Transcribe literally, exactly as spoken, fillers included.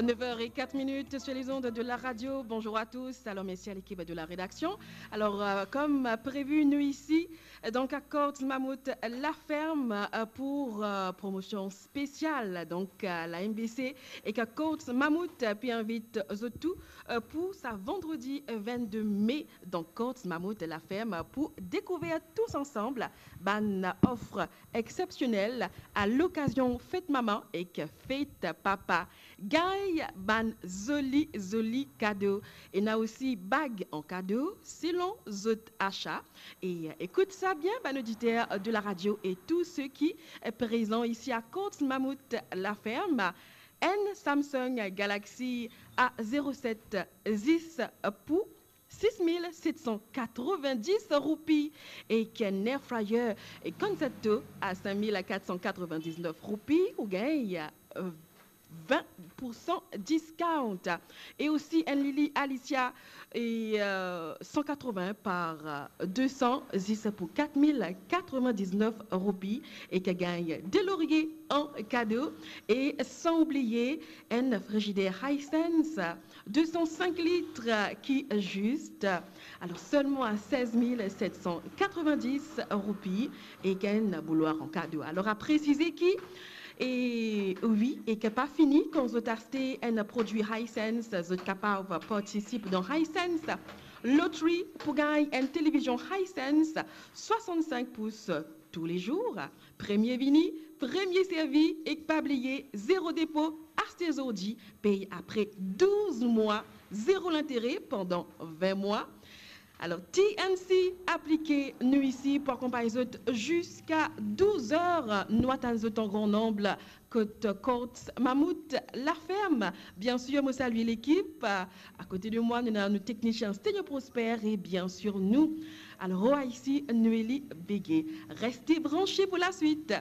Neuf heures et quatre minutes sur les ondes de la radio. Bonjour à tous. Alors, merci à l'équipe de la rédaction. Alors, euh, comme prévu, nous ici, euh, donc à Corts Mammouth La Ferme, euh, pour, euh, promotion spéciale. Donc, euh, la M B C ek Corts Mammouth, euh, pe invit zot tou, euh, pou sa vandredi, euh, vingt-deux mai. Donc, Corts Mammouth La Ferme, euh, pou découvrir tous ensemble bann offre exsepsionel a lokazion fet mama ek fet papa. Gagn bann zoli, zoli kado. Ena osi bag an kado, selon zot asa. E ekout sa bien, bann oditer de la radio e tou seki prezan isi a Corts Mammouth La Ferme, enn Samsung Galaxy A zéro sept zis pou six mille sept cent quatre-vingt-dix roupi, ek enn air fryer Concerto a cinq mille quatre cent quatre-vingt-dix-neuf roupi, ou gagn, euh, vingt pour cent discount. E osi enn lili Alicia e, euh, cent quatre-vingts par, euh, deux cents, zis pou quatre mille quatre-vingt-dix-neuf roupi, e ki gagn de loriye an kado. E san oubliye enn frizider Hisense deux cent cinq litres ki zis, alors, selman a seize mille sept cent quatre-vingt-dix roupi, e ki enn boulwar an kado. Alors, a presize ki, e wi, e ki pa fini, kan zot aste enn prodwi Hisense, zot kapav partisip dan Hisense Lottery pou gagn enn televizion Hisense soixante-cinq pous tou le zour. Premie vini, premie servi, ek pa bliye, zero depo, aste zordi, pey apre douz mwa, zero lintere pandan vin mwa. Alors, T N C aplike, nou isi pou akonpagn zot ziska douz er. Nou atann zot an gran nonb kot Corts Mammouth La Ferme. Biensir, mo salye lekip. Akote de mwa, nou ena nou teknisien Stenio Prosper e biensir nou, al rwa isi, Noélie Béguet. Reste branche pou laswit.